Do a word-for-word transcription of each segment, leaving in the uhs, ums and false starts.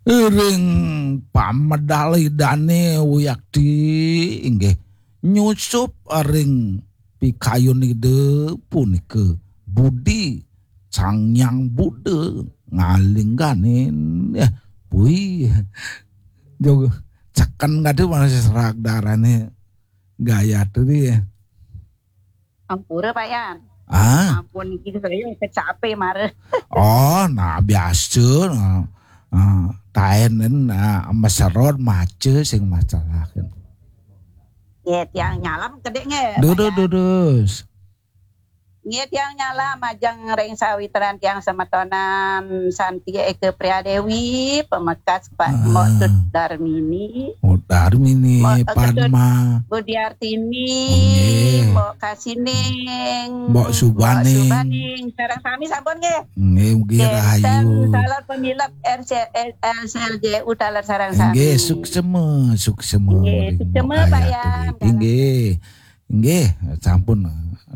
Ring pamedal Idane wiakti inggih nyusup ring pikayun Ida punika budi Sang Hyang Buddha ngalingganin. Ya, pui. Jog ceken kadi masih serak darane Gayatri ya. Ampura, Pak Yan. Ah. Ampun, niki saya kecape mara. Oh, nah biasa. Nah. Ah, taen nah, meserot maca sing masalah. Nggih, tiang nyalam kedek nggih, Pak Yan. Dudus. Nggih, tiang nyalam majeng ring sawitran tiang semetonan Santi Eka Priadewi, pemekas Pak Ah. Mbok Tut Darmini. Mbok Darmini, Mbok Tut Padma. Budiartini, Nggih. Mbok Kasining, Mbok Subaning. Mbok Subaning. Sareng sami sampun nggih. Nggih, mugi Nggih, rahayu. Taler pemilep R C, R C L J U taler sareng sami. Nggih, suksema, suksema Nggih, ring suksema, Pak Gayatri. Yan. Nggih. Nggih, sampun.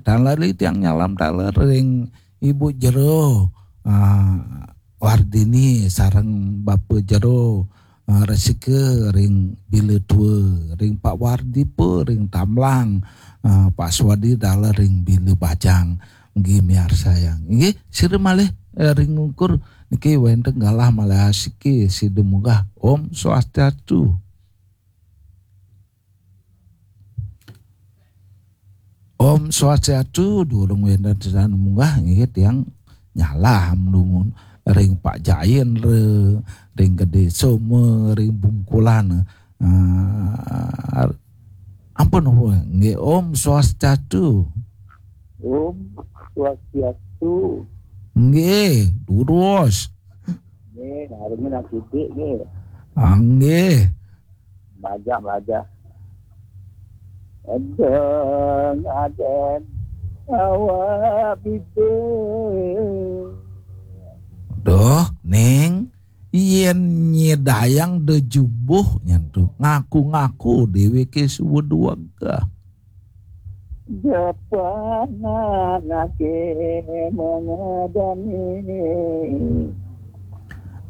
Taler tiang nyalam taler ring Ibu Jero, ah, Wardini sareng Bapa Jero, ah, Resika ring Bila Tua, ring Pak Wardipa ring Tamlang, ah, Pak Swadi taler ring Bila Bajang. Nggih miarsayang. Nggih, sira malih, eh, ring Ungkur niki wenten galah malih asiki sida munggah. Om Swastiastu. Om Swastiastu, durung wenten sida munggah nggih tiang nyalam dumun ring Pak Jain re, ring Gede Soma, ring Bungkulan. Ah, ampun, ampun. Nggih, Om Swastiastu. Om Swastiastu. Nggih, durus. Nggih, narengin akidik nggih. Ah, nggih. Majah, majah. Adeng, adeng, awak bibir. Duh, Ning, yen nyidayang da jubuh nyen to, ngaku-ngaku deweke suba duweg. Japan anake mangadani.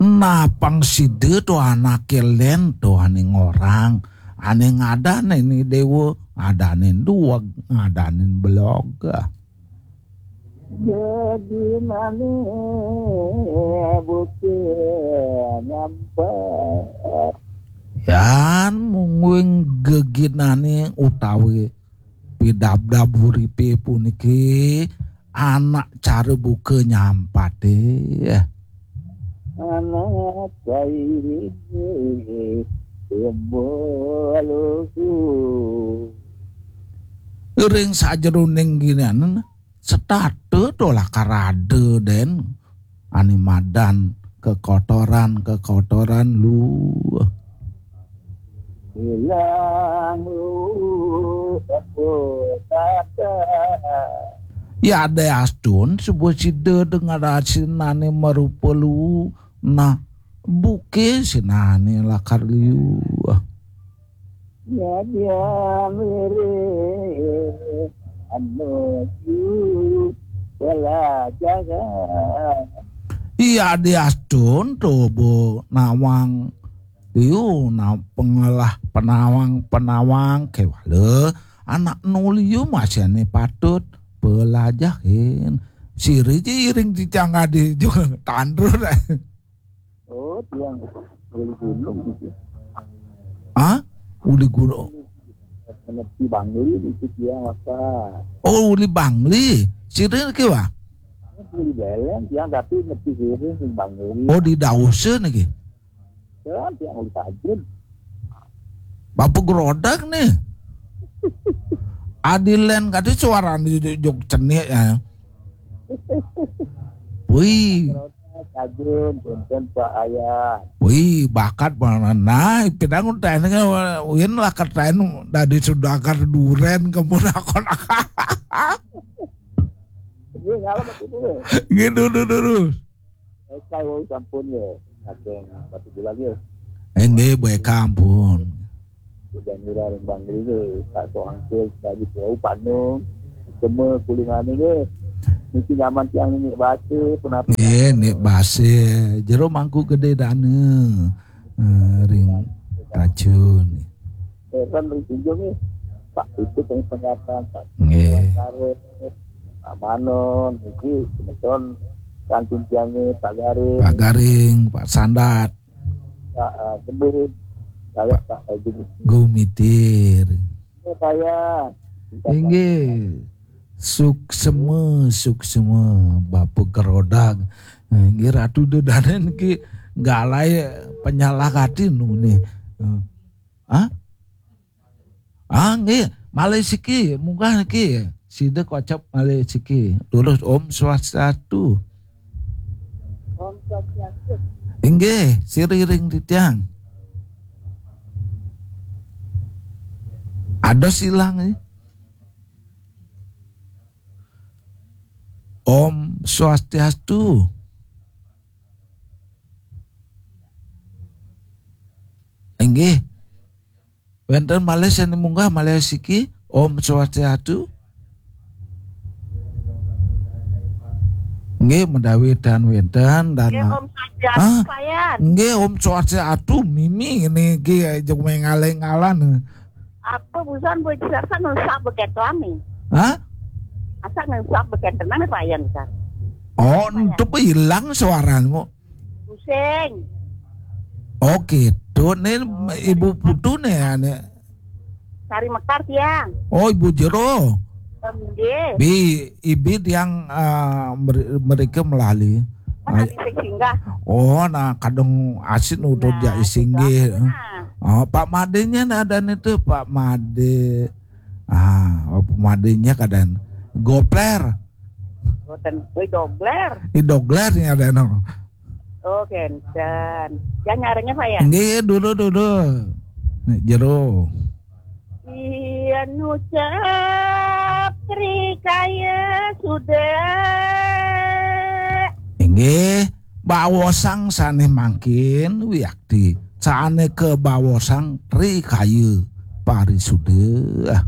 Napang sida to anake len to ane ngorang, ane ngadanin dewa, ngadanin duweg, ngadanin belog. Jadi mane buke nyampe. Yan mungguing geginane utawi pidabdab uripe puniki anak cara buka nyampate. Anak kairi tumbuh lugu. Ring sajeroning ginian setata to lakar ada den ane madan kekotoran-kekotoran lu. Ilang lu aku kata. Ya ada astun sebuah sida dengan asinane marupa lu. Nah, buke sinane lakar liu. Ya dia mere anu ju bela jaga. Iya diastun to bo nawang liu na pengelah penawang-penawang kewala anak nu liu masih ane patut pelajahin. Siri ji iring cicang adi juga tandur. Oh, tiang uli gunung gitu. Hah? Uli gunung. Menepi Bangli gitu tiang apa? Oh, uli Bangli. Sira ke wa? Uli Belen tiang tapi nepi sini sing Bangli. Oh, di Dausen lagi. Ya, tiang uli Tajun. Bapa Gerodak nih. Adilen kata suarane jog cenik ya. Wih. Kajun, punten Pak Ayah. Wih, bakat mana? Nah, pidang udah ini kan, win lah kata ini dari sudagar duren kamu nakon. Ini ngalam itu dulu. Gitu dulu. Saya sampun ya. Ada yang batu bulan ya. Enggak, baik ampun. Udah ngira ring Bangli, tak so angkil, tak gitu. Oh, Panung. Semua kulingane nggih. Niki nyaman tiang niki baca, punapa? Nggih, nik basa. Jero Mangku Gede Dana. Eh, ring racun. Heran ring Tunjung nih. Pak itu yang penyataan Pak. Nggih. Karet, Pak Manon, niki semeton kantin tiangnya Pak Garing, Pak Garing, Pak Sandat, Pak eh, Kebun, saya Pak Haji Gumitir. Ini saya. Inggih. Suksema, suksema, Bapa Kerodag. Inggih, Ratu Dedanen ki galai penyalahkatin ni. Ah? Ah, nggih, malih siki, munggah niki. Sida kocap malih siki. Lurus Om Swastiastu. Om Swastiastu. Inggih, siriring titiang. Ada silang eh. Om Swastiastu. Inggih. Wenten malih sane munggah malih siki. Om Swastiastu. Nggih, menawi tan wenten dan Nggih, Om Swastiastu, Ah. Payan. Nggih, Om Swastiastu, mimi niki jeng mengaling-alan. Apa busan buat serasa ngesak begitu nih? Hah? Asa ngesak begitu nih Payan kan? Oh, itu hilang suaramu. Pusing. Oh, gitu. Ini Ibu Putu nih, ya, nih. Sari Mekar tiang. Oh, Ibu Jero. Nggih. Bi, ibi tiang eh, mer- mereka melali. Mana sing singgah? Oh, nah kadang asin udah Nah, jadi singgih. Nah, Oh, Pak Madenya ada nih tuh, Pak Made. Ah, oh, Pak Madenya kadang gopler. boten kuwi dobler. Di dogler nih ada no. Oh, kenten. Ya nyarengnya Payan. Nggih, dulu dulu. Nek jero. Iya nucap rikaya sudah. Inggih, bawosang sane mangkin wiakti. Sane kebawosang rikaya parisuda.